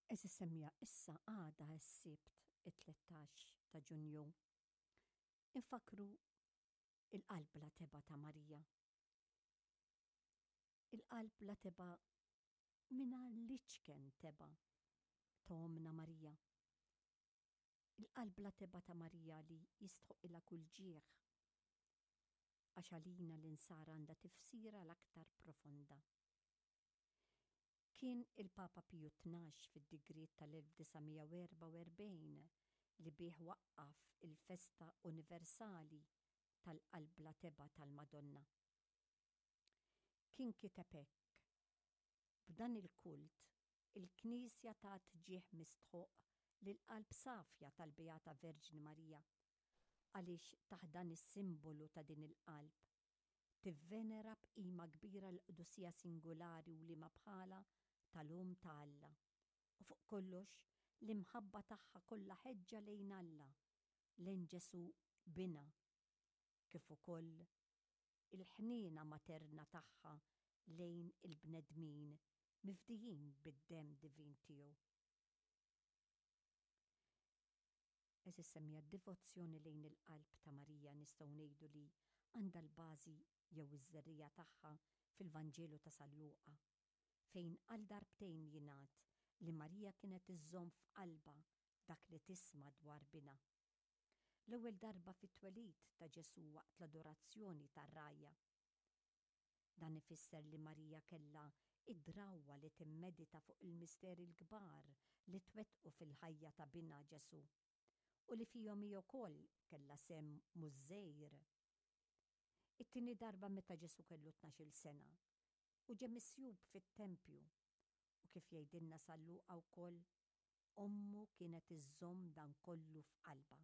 Għeżież semmiegħa issa għada s-Sibt it-13 ta' Ġunju infakkru il-qalb bla tebgħa ta' Marija. Il-qalb bla tebgħa mingħajr l-iċken tebgħa ta' Ommna Marija. Il-qalb bla tebgħa ta' Marija li jistħoqilha kull ġieħ għax għalina l-insara għandha tifsira l-aktar profonda. Kien il-Papa Piju Tnax fid-digriet tal-1944 li bih waqqaf il-festa universali tal-Qalb Bla Tebgħa tal-Madonna. Kien kiteb hekk, B'dan il-kult, il-Knisja tat ġieħ mistħoqq lill-Qalb Safja tal-Beata Verġni Marija, għaliex taħt dan is-simbolu ta' din il-Qalb, tivvenera b'qima kbira l-qdusija singulari u liema bħalha tal-Omm ta' Alla, u fuq kollox l-imħabba tagħha kollha ħeġġa lejn Alla, lejn Ġesù Binha, kif ukoll il-ħniena materna tagħha lejn il-bnedmin mifdijin bid-demm divin tiegħu. Għeżież semmiegħa, d-divozzjoni lejn il-Qalb ta' Marija nistgħu ngħidu li għandha l-bażi jew iż-żerriegħa tagħha fil-Vanġelu ta' San Luqa, fejn għal darbtejn jingħad li Marija kienet iżżomm f'qalbha dak li tisma' dwar binha. L-ewwel darba fit-twelid ta' Ġesù waqt l-adorazzjoni tar-rgħajja. Dan ifisser li Marija kellha d-drawwa li timmedita fuq il-misteri l-kbar li twettqu fil-ħajja ta' Binha Ġesù, u li fihom hi wkoll kellha sehem mhux żgħir. It-tieni darba meta Ġesù kellu 12-il sena u ġie misjub fit-tempju, u kif jgħidilna San Luqa wkoll, ommu kienet iżżomm dan kollu f'qalbha.